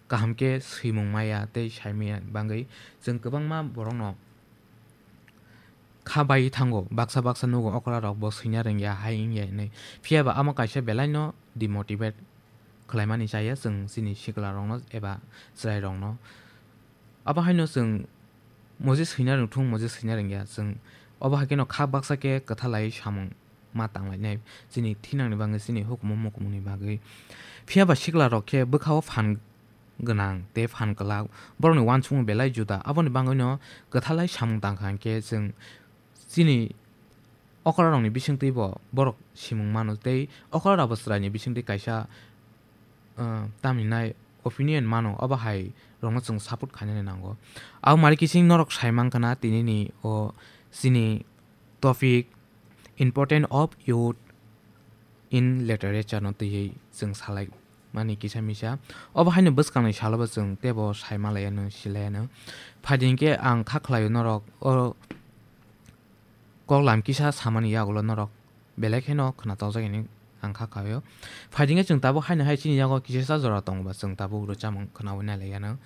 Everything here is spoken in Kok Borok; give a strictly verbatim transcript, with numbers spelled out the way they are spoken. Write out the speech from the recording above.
kaham khe swimung maya tei saimaya bagwi chwng kwbangma borokno kha bai thango, baksa baksa nugo okra rok bo swina rwngya hai wngya hinwi. Phiya ba amo kaisa belai no demotivate khlaimani chaya chwng chini sikla rokno eba chwrai rokno. Abo haino chwng moje swina rwngthung, moje swina rwngya chwng obo hai kheno kha baksa khe kwthalai samung ma tanglainai chini thinangni bagwi, chini hukumu mukumuni bagwi. Phiya ba sikla rok khe bwkhao phan gwnang tei phan kwlak, borokni uansukmung belai juda. Aboni bagwino kwthalai samung tangkha hinkhe chwng chini okra rokni bisingtwi bo borok simung mano tei okra rokbo chwraini bisingtwi kaisa, uh, tamhinai opinion mano, obo hai rokno chwng support khainani nango. Abo mari kiching norok sai mankha na tinini o chini topic important of youth in literature no twiwi chwng salai mani kisa misa. Obo haino bwskangni salo bo chwng teibo sai malaiya no, silaiya no. Phaidi hinkhe ang kha khlaio norok o kok lam kisa samani yagulo norok belai kheno khwnatok jak hinwi ang kha khlaio. Phaidi hinkhe chwng tabuk haino hai chini yago kisa jora tongo ba chwng tabuk rwchapmung khwnawi nai laiya no.